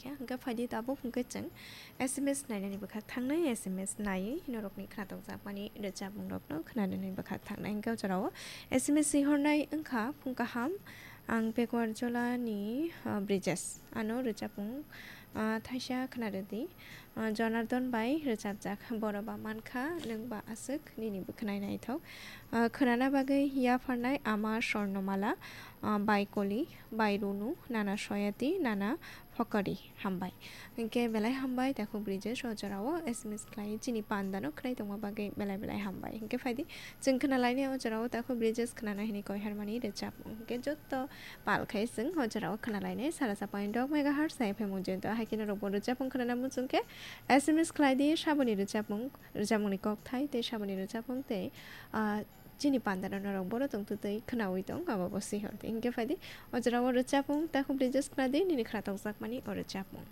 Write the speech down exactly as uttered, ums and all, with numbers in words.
Ya, hwnkhe phaidi tabuk hwnkhe chwng S M S nainani bwkhak thangnai, S M S naiwi norokni khnatok jakmani rwchapmung rokno khwnanani bwkhak thangnai. Hwnkhe o jorao S M S sihornai wngkha phung kaham, ang Pekuar Jolani, ah, Brijesh. Ano rwchapmung, ah, thaisa khwnarwdi. Ah, Jonardon bai rwchapjak Boroba Mankha Nwngba Aswk Nini Bwkhwnai Naithok. Ah, khwnana bagwi yapharnai Ama Sornomala, ah, bai Koli, bai Runu, Nana Soyati, Nana Phokori. Hambai. Hwnkhe belai hambai, takhuk Brijesh o jorao S M S khlai chini pandano khwnai tongma bagwi belai belai hambai. Hwnkhe phaidi chwng khwnalainai o jorao takhuk Brijesh khwnana hini koi harmani rwchapmung. Hwnkhe jotto pal khai chwng o jorao khwnalainai sara sa point dok megahertz F M o jento. Haikhe norokbo rwchapmung khwnana muchungkhe S M S khlaidi saboni rwchapmung, rwchapmungni kokthai tei saboni rwchapmung tei, ah, chini pandano norok bono tongtwtwi khwnawi tong, abo bo sihor di. Hwnkhe phaidi o jorao rwchapmung takhuk Brijesh khwnadi nini khwnatok jakmani o rwchapmung.